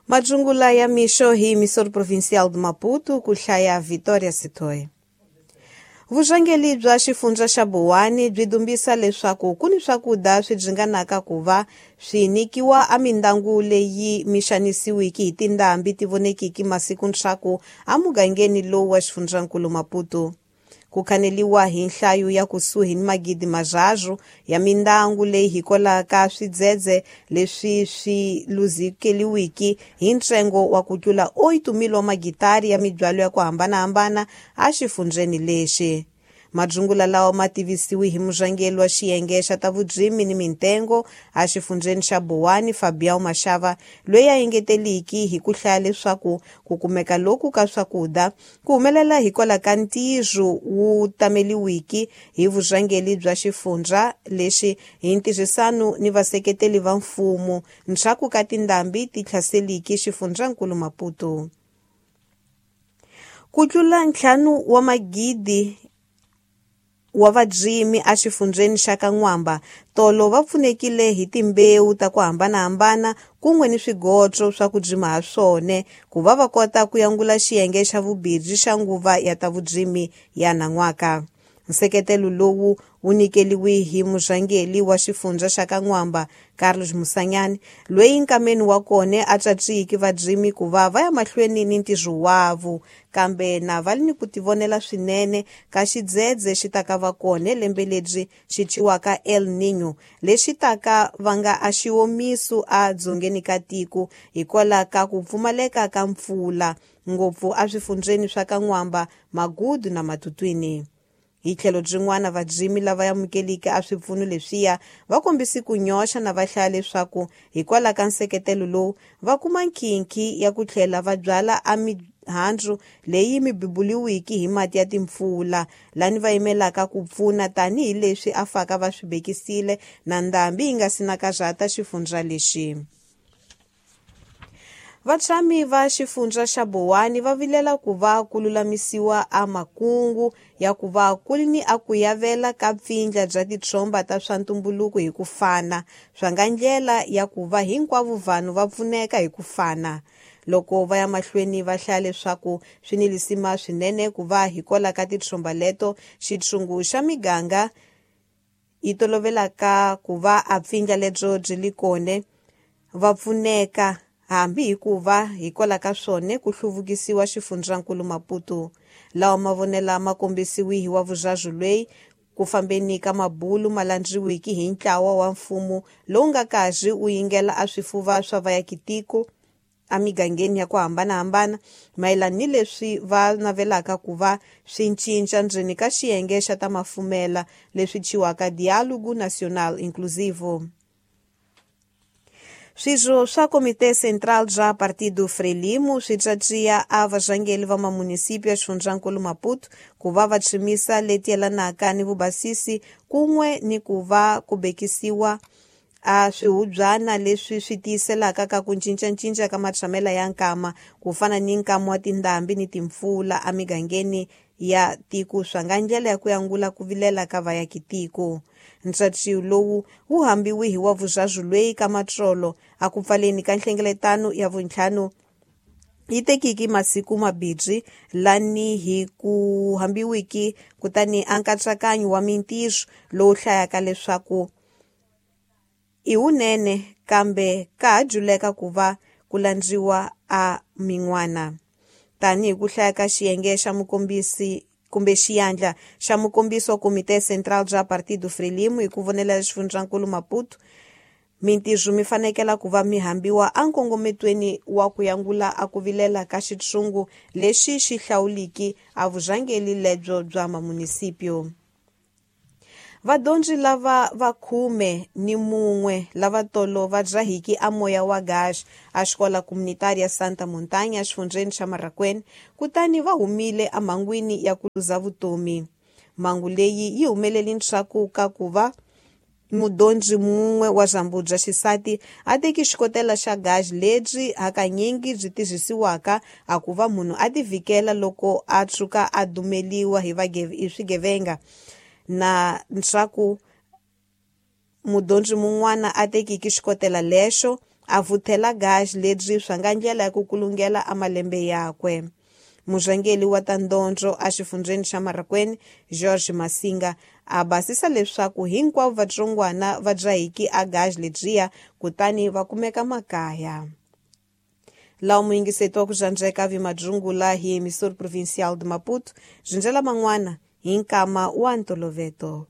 Majungula ya mixo hi emissora provincial de Maputo ku hlaya Vitória Sitoe. Vurhangeri bya xifundza xa Buwani byi dumbisa leswaku ku ni swakudya swi dzinganaka ku va swi nyikiwa emindyangu leyi mixanisiwiki hi tindhambi ti vonekiki masiku ntshaku emugangeni lowu wa xifundzankulu Maputo. Ku khaneliwa hi nhlayo ya kusuhi ni magidi marharhu ya mindyangu leyi hikwalaho swidzedze leswi swi luzekeriwiki hi ntsengo wa ku tlula 8,000 wa magitari ya mibyalo ya ku hambanahambana exifundzheni lexi. Madzungula lawa ma tivisiwe hi murhangeri wa xiyenge xa ta vurimi ni mintengo exifundzheni xa Buwani Fabian Mashava loyi a engeteliki hi ku hlaya leswaku ku kumeka loku ka swakudya ku humelela hikwalaho ka ntirho wu tameliwiki hi vurhangeri bya xifundza lexi hi ntirhisano ni vaseketeli va mfumo ndzhaku ka tindhambi ti hlaseliki xifundzankulu Maputo. Ku tlula 5 wa magidi wa varimi exifundzheni xa Ka-Nwamba tolo va pfunekile hi timbewu ta ku hambanahambana kun'we ni swigotso swa ku rima ha swona ku va va kota ku yangula xiyenge xa vumbirhi xa nguva ya ta vurimi ya nan'waka. Nseketelo lowu wu nyikeriwe hi murhangeri wa xifundza xa Ka-Nwamba Carlos Musanyani loyi nkameni wa kona a tswatswiki varimi ku va va ya mahlweni ni ntirho wavo kambe na va ni ku tivonela swinene ka xidzedze xi taka va kona lembe lebyi xi thyiwaka El Niño lexi taka va nga a xiwomiso a dzongeni ka tiko hikwalaho ka ku pfumaleka ka mpfula ngopfu eswifundzheni swa Ka-Nwamba, Magudu na Matutuini. Hi tlhelo byin'wana varimi lava amukeleke a swipfuno leswiya va kombise ku nyoxa na va hlaya leswaku hikwalaho ka nseketelo lowu va kuma nkhinkhi ya ku tlhela va byala emihandzu leyi mi beburiwiki hi mati ya timpfula lani va yimelaka ku pfuna tanihileswi a faka va swi vekisile na ndhambi yi nga si na karhata xifundza lexi. Vatshami va xifundza xa Buwani va vilela ku va ku lulamisiwa a makungu ya ku va ku ri ni a ku yavela ka pfindla bya titshomba ta swa ntumbuluko hi ku fana swa nga ndlela ya ku va hinkwavo vanhu va pfuneka hi ku fana. Loko va ya mahlweni va hlaya leswaku swi ni lisima swinene ku va hikwalaho ka titshomba leto xitshungu xa miganga yi tolovelaka ku va a pfindla lebyo byi li kona va pfuneka hambi hikuva hikwalaho ka swona ku hluvukisiwa xifundzankulu Maputo. Lawa mavonelo ma kombisiwe hi wa vurharu loyi ku fambeni ka mabulu ma landziwiki hi ntlawa wa mfumo lowu nga karhi wu yingela a swifuva swa vaakatiko emigangeni ya ku hambanahambana mayelana ni leswi va navelaka ku va swi cinca ndzeni ka xiyenge xa ta mafumela leswi thyiwaka Diálogo Nacional Inclusivo. Swirho swa Komite Central bya Partido Frelimo swi tsatsiya a varhangeri va mamunisipyu ya xifundzankulu Maputo ku va va tshimisa leti yelanaka ni vubasisi kun'we ni ku va ku bekisiwa a swihubyana leswi swi tiyiselaka ka ku cincacinca ka matshamelo ya nkama ku fana ni nkama wa tindhambi ni timpfula emigangeni ya tiko swa nga ndlela ya ku yangula ku vilela ka vaakatiko. Ntsatsiyo lowu wu hambiwe hi wa vurharu loyi ka matsolo a ku pfaleni ka nhlengeletano ya vuntlhanu yi tekiki masiku mabirhi lani hi ku hambiwiki kutani a nkatsakanyo wa mintirho lowu hlayaka leswaku i wunene kambe ka ha dyuleka ku va ku landziwa a min'wana. Tanihi ku hlaya ka xiyenge xa mukombisi kumbe xiyandla xa mukombisi wa Komite Central bya Partido Frelimo hi ku vonela xifundzankulu Maputo, mintirho mi fanekela ku va mi hambiwa enkongometweni wa ku yangula a ku vilela ka xitshungu lexi xi hlawuliki a vurhangeri lebyo bya mamunisipyu. Vadyondzi lava va 11 lava tolo va dzahiki a moya wa gasi a xikola comunitária Santa Montanha exifundzheni xa Marracuene kutani va humile emhangwini ya ku luza vutomi. Mhangu leyi yi humelele ndzhaku ka ku va mudyondzi mun'we wa Zambubya xisati a teki xikotela xa gasi lebyi hakanyingi byi tirhisiwaka a ku va munhu a tivhikela loko a tshuka a dumeliwa hi swigevenga na ndzhaku mudyondzi mun'wana a tekiki xikotela lexo A vuthela gaj lebyi swa nga ndlela ya ku kulungela a malembe yakwe. Murhangeri wa ta ndondzo exifundzheni xa Marraquene, George Masinga, a basisa leswaku hinkwavo vatsongwana va dzahiki a gaj lebyiya kutani va kumeka makaya. Laha muyingiseti wa ku dzandzeka vimadzungula hi emissora provincial de Maputo, byi ndlela man'wana hi nkama wa ntoloveto.